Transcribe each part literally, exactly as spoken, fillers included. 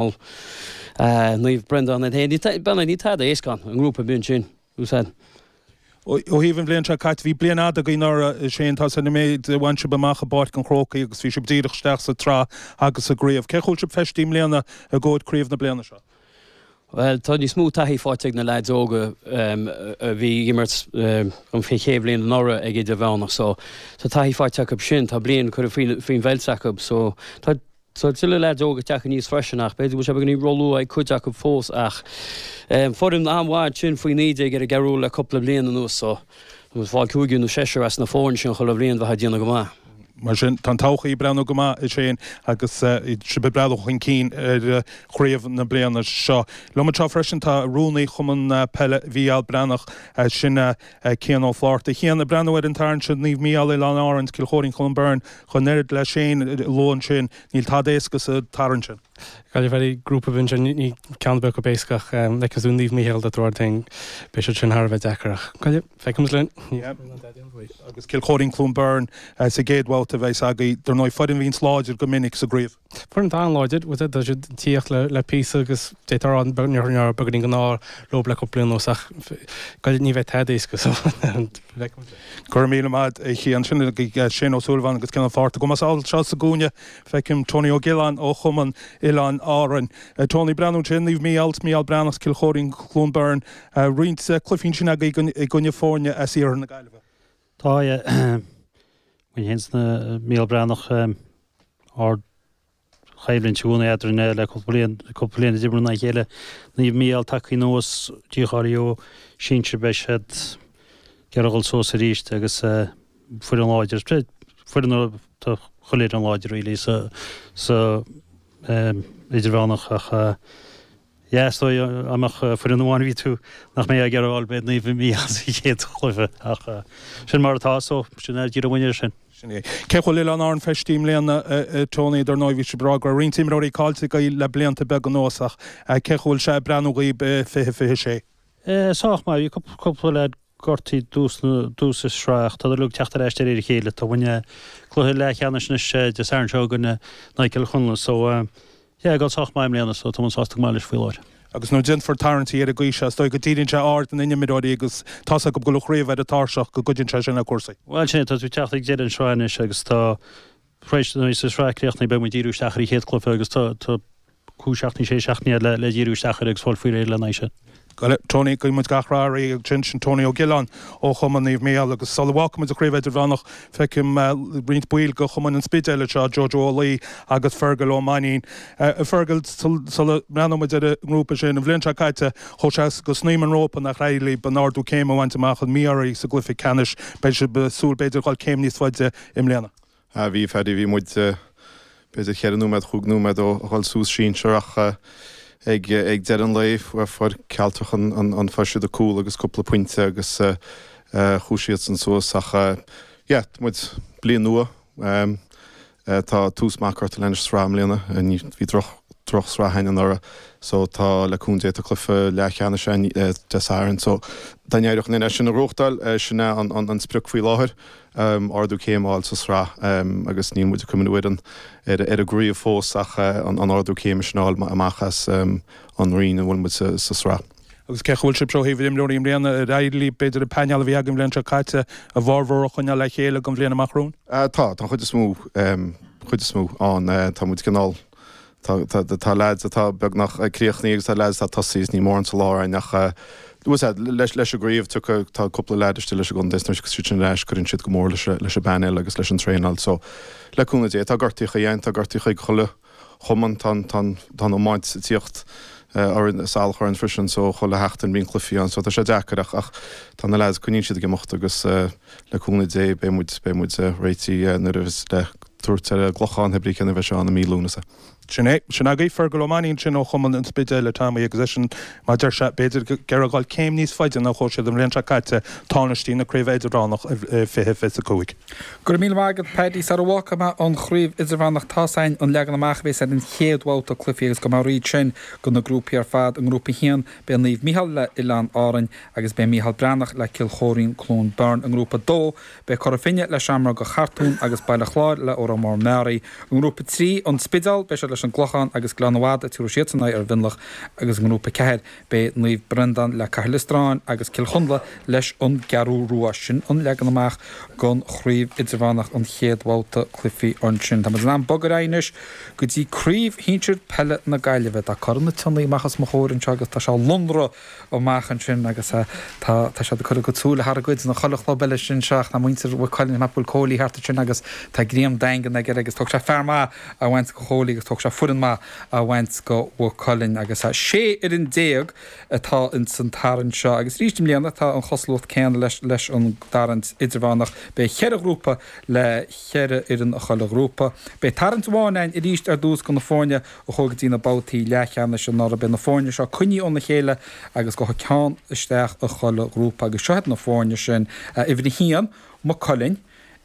Naomh Breandán iad féin. B'fhéidir níl tada éasca ann, an ngrúpa bíonn sin úsáid. Ó thaobh an bhliain seo caite, bhí bliain fhada agaibh anuraidh, a Shane, tá an méid a bhain sibh amach i bPáirc an Chrócaigh agus bhí sibh díreach isteach sa tsraith agus sa gcraobh. Cé chomh bhfuil sibh feistithe i mbliana i gcomhair craobh na bliana seo? Bhuel, tá níos mó taithí faighte ag na leaids óga a bhí ag imirt an chéad bhliain anuraidh ag Idirmheánach so tá taithí faighte acu sin, tá bliain curtha faoin bheilt acu so tá Tá tuilleadh leaids óga ag teacht aníos freisin ach b'fhéidir go bhfuil sé beagáinín róluath ag cuid acu fós ach foireann an-mhaith ansin faoi naoi déag ar an gCeathrú le cúpla bliain anuas so tá muid ag fáil cúigear nó seisear as na foirne sin chuile bhliain bheith ag déanamh go maith. Mar sin, tá an todhchaí ag breathnú go maith, a Shane, agus sibh ag breathnú chun cinn ar chraobh na bliana seo. Liom anseo freisin tá rúnaí Chumann Peile Mhícheál Breathnach, sin Cian Ó Flátharta. Cian, ag breathnú ar an tarraingt seo, Naomh Mícheál, Oileáin Árann, Cill Chóirín, Cluain Bheirn, chun oiread le Shane a luadh ansin, níl tada éasca sa tarraingt sin. Gaillimh Valley grúpa bhinn sin ní ceann ar bith acu éasca ach like is Naomh Mícheál do Dúirt féin beidh siad sin thar a bheith deacair ach Gaillimh feicfimid linn. Agus Cill Chóirín Cluain Bheirn sa gcéad bhabhta a bheas agaibh, dar ndóigh foireann a bhíonns láidir go minic sa gcraobh. Foireann atá an-láidir, tá siad ag tíocht le le píosa agus d'fhéadfá a rá beagáinín beagáinín den ádh leo le cúpla bliain anuas ach Gaillimh ní bheidh tada éasca so feicfimid. Go raibh míle maith agat a Chian. Sin agaibh Shane Ó Súilleabháin agus Cian Ó Fátharta. Go mbeadh anseo sa gcúinne feicim Tony Ó Giolláin ó Chumann Oileáin Árann. Tony, breathnú ansin, Naomh Mícheál, Mícheál Breathnach, Cill Chóirín, Cluain Bheirn, roinnt cluichí ansin agaibh i gcoinne foirne as iarthar na Gaillimhe. Tá, muid féin is Mícheál Breathnach, ard choimhlint i gcónaí eadrainn le cúpla bliain, cúpla bliain a d'imir in aghaidh a chéile. Naomh Mícheál tagtha anuas, dícháilithe ó sinsir, beidh siad ag iarraidh dul suas arís agus foireann láidir, foireann tá chuile fhoireann láidir really sa sa idirmheánach ach yeah is dóigh dá mbeadh foireann amháin a bhí tú nach mbeidh ag iarraidh a fháil b'é Naomh Mícheál sa chéad chluiche ach sin mar atá so sin é díreach muid air sin. Sin é. Cé chomh bhfuil Oileáin Árann feistithe i mbliana Tony, dar ndóigh bhí sibh ag rá go raibh roinnt imreoirí caillte agaibh le blianta beaga anuas ach cé chomh bhfuil sé ag breathnú dhaoib i fiche fiche sé? Sách maith, bhí cúpla leaid gortaithe dtús na dtús an sraith ach tá siad uilig ag teacht ar ais de réir a chéile. Tá muidne cluiche leathcheannais anois Dé Sathairn seo againn in aghaidh Cill Chonla so yeah ag dul sách maith i mbliana so tá muid sásta go maith leis faoi láthair. Agus nuair a déanfar tarraingtí ar an gcaoi seo, is dóigh go díríonn sé aird na n-imreoirí agus tá's acu go bhfuil an chraobh ar an tairseach go gcuidíonn sé sin le cúrsaí. Bhuel sin é, tá tú ag teacht ag deireadh an sraith anois agus tá tar éis nuair is sraith críochnaithe beidh muid ag díriú isteach ar an chéad cluiche agus tá tá cúig seachtainí, sé seachtainí le le díriú isteach air agus fáil faoi réir lena aghaidh sin. Tony, guíonn muid gach rath oraibh ansin, sin Tony Ó Giolláin ó Chumann Naomh Mícheál agus sula bhfágfaidh muid an Chraobh Idirmheánach feicim roinnt baill de Chumann an Spidéil anseo, Jojo Ó Laoi agus Fergal Ó Mainnín. A Fergal, sula mbreathnóidh muid ar an ngrúpa sin, an bhliain seo caite chuaigh sé go snaidhm an rópa nach éirigh libh an ardú céime a bhaint amach, an mí-ádh oraibh sa gcluiche ceannais. Beidh sibh ag súil b'fhéidir dhul céim níos faide i mbliana. Ah bhí, Phaddy, bhí muid b'fhéidir cheithre nóiméad, chúig nóiméad ó dhul suas sinsear ach ag ag deireadh an lae fuair Cealtrach an an an fuair siad a cúl agus cúpla pointe agus chuaigh siadsan suas ach yeah, tá muid bliain nua tá tús maith curtha leis an sraith i mbliana, ní bhí droch droch sraith againn anuraidh so tá le cúnamh Dé tá cluiche leathcheannais againn Dé Sathairn so dá n-éireodh linn é sin a ghnóthachtáil sin é an an an sprioc faoi láthair. ardú céime a fháil sa sraith agus níl muid ag cuimhniú ar an ar an gcraobh fós ach an ardú céime sin a fháil amach as an roinn a bhfuil muid sa sraith. Agus cé chomh bhfuil sibh ó thaobh imreoirí i mbliana, ar éirigh libh b'fhéidir an painéal a bhí agaibh an bhliain seo caite a bhformhór a choinneáil le chéile don bhliain amach romhainn? Tá, tá an chuid is mó, chuid is mó ann. Tá muid cineál Tá tá leaids atá beagnach críochnaithe agus tá leaids atá tosaithe is níl mórán sa lár againn ach leis leis an gcraobh tiocfaidh tá cúpla leaid istigh leis an gcontae is nuair a thiocfas siad sin ar ais cuireann siad go mór leis leis an bpainéal agus leis an traenáil so le cúnamh Dé tá gortaíocha againn tá gortaíocha ag chuile chumann tá an tá an tá an iomáint ag tíocht orainn salach orainn freisin so chuile sheachtain bíonn cluichí ann so tá sé deacair ach ach tá na leaids coinníonn siad ag imeacht agus le cúnamh Dé beidh muid beidh muid réitithe nuair a bheas le tabhairt ar an gClochán, pé brí cén a bheidh sé ann i mí Lúnasa. Sin é. Sin agaibh Fergal Ó Mainnín ansin ó Chumann an Spidéil, a Tommy, agus eisean, mar a deir sé, b'fhéidir ag iarraidh dhul céim níos faide ná chuaigh siad an bhliain seo caite, tánaistí na Craoibhe Idirmheánach i fiche fiche a cúig. Go raibh míle maith agat Paddy. Sara bhfágfaidh mé an Chraobh Idirmheánach tá's againn an leagan amach a bheas ar an chéad bhabhta cluichí agus gabhfaidh mé thríd sin do na grúpaí ar fad. I ngrúpa a haon beidh Naomh Micheál le Oileáin Árainn agus beidh Mícheál Breathnach le Cill Chóirín Cluain Bheirn. I ngrúpa a dó beidh Cora Finne le Seamróga Chartúin agus Baile Chláir le Órán Mór Meáraí. I ngrúpa a trí, An Spidéal, beidh siad le leis an gClochán agus Gleann Fhada tabharfaidh siadsan aghaidh ar Mhionlach agus i ngrúpa a ceathair beidh Naomh Breandán le Cathair Loistreáin agus Cill Chonla leis an gCeathrú Rua. Sin an leagan amach don chraobh idirmheánach an chéad bhabhta cluichí ansin. Tá muid in am bogadh ar aghaidh anois go dtí craobh shinsir peile na Gaillimhe. Tá Corn na Sionnaigh amach os mo chomhair anseo agus tá sé lonrach amach ansin agus tá tá siad ag cur a gcuid súile thar a gcuid na chuile chlub eile sin seo ach tá muintir Mhaigh Cuilinn ag bhfuil Cóilí thart ansin agus tá greim daingean aige agus tógfaidh sé fear maith a bhaint go Chóilí agus tógfaidh sé foireann maith a bhaint go Mhaigh Cuilinn agus sé fhoireann déag atá ins an tarraingt seo agus arís i mbliana tá an chosúlacht céanna leis leis an dtarraingt idirmheánach beidh cheithre ghrúpa le cheithre fhoireann i chuile ghrúpa. Beidh tarraingt amháin ann arís ar dtús go na foirne a chuaigh go dtí na babhtaí leathcheannais anuraidh. Beidh na foirne seo coinnithe óna chéile agus gabhfaidh ceann isteach i chuile ghrúpa agus seo iad na foirne sin, uimhir a haon, Maigh Cuilinn,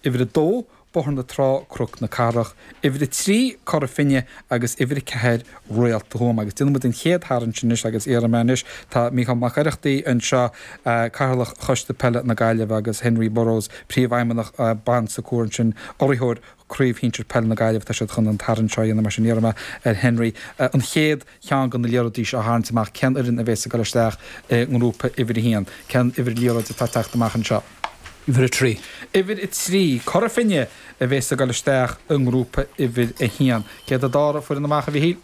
uimhir a dó, Bóthar na Trá, Cnoc na Cathrach, uimhir a trí, Cora Finne agus uimhir a ceathair, Réalta Thuama. Agus déanfaidh muid an chéad tharraingt anois agus iarrfaidh mé anois, tá Mícheál Mac Oireachtaigh anseo, Cathaoirleach Choiste Peile na Gaillimhe agus Henry Burrows, Príomhfheidhmeannach Bon Secours ansin, urraitheoir Craobh Shinsir Peile na Gaillimhe. Tá siad chun an tarraingt seo a dhéanamh mar sin iarrfaidh mé ar Henry an chéad cheann de na liathróidí seo a tharraingt amach. Cén fhoireann a bheas ag dul isteach i ngrúpa uimhir a haon? Cén uimhir liathróid atá ag teacht amach anseo? Uimhir a trí. Uimhir a trí, Cora Finne a bheas ag dul isteach i ngrúpa uimhir a haon. Céard an dara foireann amach, a Mhichíl?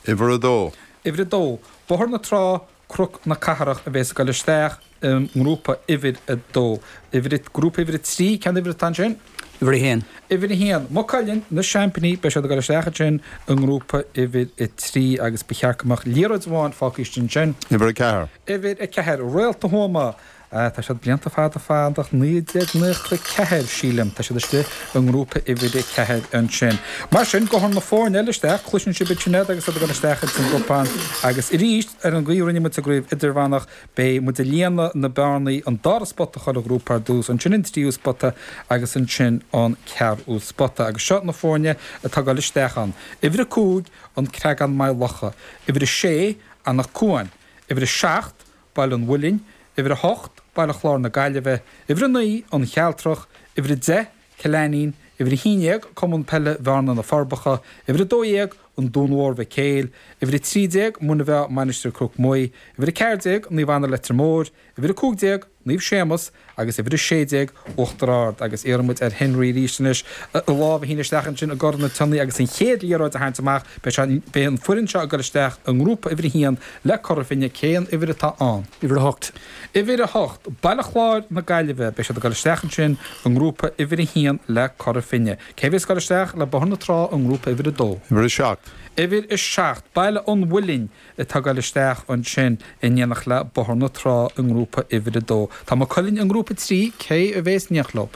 Uimhir a dó. Uimhir a dó, Bóthar na Trá, Cnoc na Cathrach a bheas ag dul isteach i ngrúpa uimhir a dó. Uimhir a, grúpa uimhir a trí, cén uimhir atá ansin? Uimhir a haon. Uimhir a haon, Maigh Cuilinn, na seaimpíní, beidh siad ag dul isteach ansin i ngrúpa uimhir a trí agus ba cheart go mbeadh liathróid amháin fágtha istigh ansin. Uimhir a ceathair. Uimhir a ceathair, Réalta Thuama. Tá siad blianta fada fadach, naoi déag nócha a ceathair, sílim. Tá siad istigh i ngrúpa uimhir a ceathair ansin. Mar sin, gabhfaidh na foirne eile isteach, cloiseann sibh iad sin agus iad ag dul isteach ins an gcupán. Agus arís, ar an gcaoi a rinne muid sa gcraobh idirmheánach, beidh muid ag líonadh na bearnaí, an dara spota i chuile ghrúpa ar dtús, ansin an tríú spota agus ansin an ceathrú spota. Agus seo na foirne atá ag dul isteach ann. Uimhir a cúig, An Creagán Maigh Locha. Uimhir a sé, Anach Cuain. Uimhir a seacht, Baile an Mhuilinn, Uimhir a hocht, Baile Chláir na Gaillimhe, Uimhir a naoi, An Chealtrach, Uimhir a deich, Cill Ainnín, Uimhir a haon déag, Cumann Peile Bhearna Na Forbacha, Uimhir a dó dhéag, An Dún Mór Mhic Éil, Uimhir a trí déag, Muine Mheá Mainistir Chnoc Muaidh, Uimhir a ceathair déag, Naomh Anna Leitir Móir, Uimhir a cúig déag, Naomh Séamus agus uimhir a sé déag, Uachtar Ard. Agus iarrfaidh muid ar Henry arís anois a lámh a shíneadh isteach ansin i gcorn na sionnaí agus an chéad liathróid a tharraingt amach. Beidh sé, beidh an foireann seo ag dul isteach i ngrúpa uimhir a haon le Cora Finne. Cén uimhir atá ann? Uimhir a hocht. Uimhir a hocht, Baile Chláir na Gaillimhe. Beidh siad ag dul isteach ansin i ngrúpa uimhir a haon le Cora Finne. Cé a bheas ag dul isteach le Bóthar na Trá i ngrúpa uimhir a dó? Uimhir a seacht. Uimhir a seacht, Baile an Mhuilinn atá ag dul isteach ansin in éineacht le Bóthar na Trá i ngrúpa uimhir a dó. Tá Maigh Cuilinn i ngrúpa a trí, cé a bheas in éineacht leo?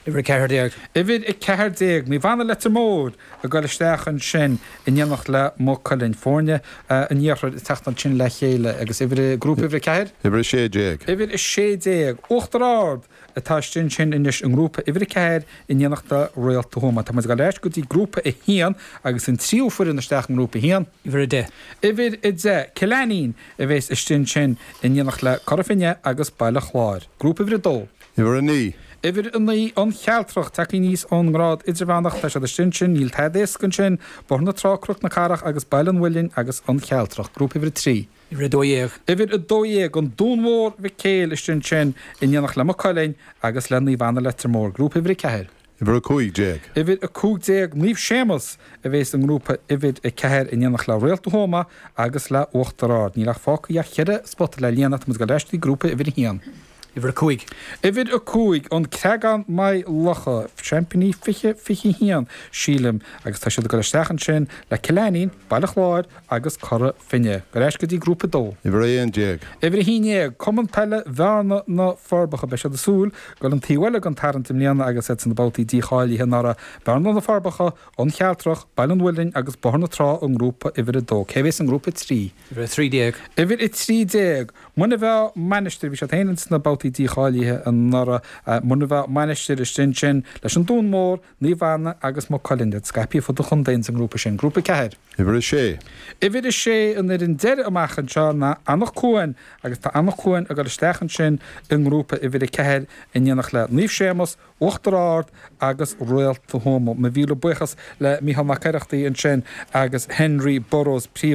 Uimhir a ceathair déag. Uimhir a ceathair déag, Naomh Anna Leitir Móir ag dul isteach ansin in éineacht le Maigh Cuilinn. Foirne an iarthair ag teacht ansin le chéile agus uimhir a, grúpa uimhir a ceathair? Uimhir a sé déag. Uimhir a sé déag, Uachtar Ard atá istigh ansin anois i ngrúpa uimhir a ceathair in éineacht le Réalta Thuama. Tá muid ag dul ar ais go dtí grúpa a haon agus an tríú foireann isteach i ngrúpa a haon. Uimhir a deich. Uimhir a deich, Cill Ainnín a bheas istigh ansin in éineacht le Cora Finne agus Baile Chláir. Grúpa uimhir a dó. Uimhir a naoi. Uimhir a naoi, An Chealtrach, tagtha aníos ón ngrád idirmheánach, tá siad istigh ansin, níl tada éasca ansin, Bóthar na Trá, Cnoc na Cathrach agus Baile an Mhuilinn agus An Chealtrach. Grúpa uimhir a trí. Uimhir a dó dhéag. Uimhir a dó dhéag, An Dún Mór Mhic Éil istigh ansin in éineacht le Maigh Cuilinn agus le Naomh Anna Leitir Móir. Grúpa uimhir a ceathair. Uimhir a cúig déag. Uimhir a cúig déag, Naomh Séamus a bheas i ngrúpa uimhir a ceathair in éineacht le Réalta Thuama agus le Uachtar Ard. Níl ach fágtha ach cheithre spota le líonadh, tá muid ag dul ar ais go dtí grúpa uimhir a haon. Uimhir a cúig. Uimhir a cúig, An Creagán Maigh Locha, seaimpíní fiche fiche a haon, sílim, agus tá siad ag dul isteach ansin le Cill Ainnín, Baile Chláir agus Cora Finne. Gabh ar ais go dtí grúpa a dó. Uimhir a haon déag. Uimhir a haon déag, Cumann Peile Bhearna na Forbacha. Beidh siad ag súil dul an taobh eile den tarraingt i mbliana agus iad sna babhtaí dícháilithe anuraidh. Bearna na Forbacha, An Chealtrach, Baile an Mhuilinn agus Bóthar na Trá i ngrúpa uimhir a dó. Cé a bheas i ngrúpa a trí? Uimhir a trí déag. Uimhir a trí déag, Muine Mheá Mainistir, bhí siad féin ins na babhtaí babhtaí dícháilithe anuraidh. Muine Mheá Mainistir istigh ansin leis an Dún Mór, Naomh Anna agus Maigh Cuilinn. Iad scaipthe fud an chontae ins an ngrúpa sin. Grúpa ceathair. Uimhir a sé. Uimhir a sé an fhoireann deiridh amach anseo ná Anach Cuain agus tá Anach Cuain ag dul isteach ansin i ngrúpa uimhir a ceathair in éineacht le Naomh Séamus, Uachtar Ard agus Réalta Thuama. Mo mhíle buíochas le Mícheál Mac Oireachtaigh ansin agus Henry Burrows, príomh.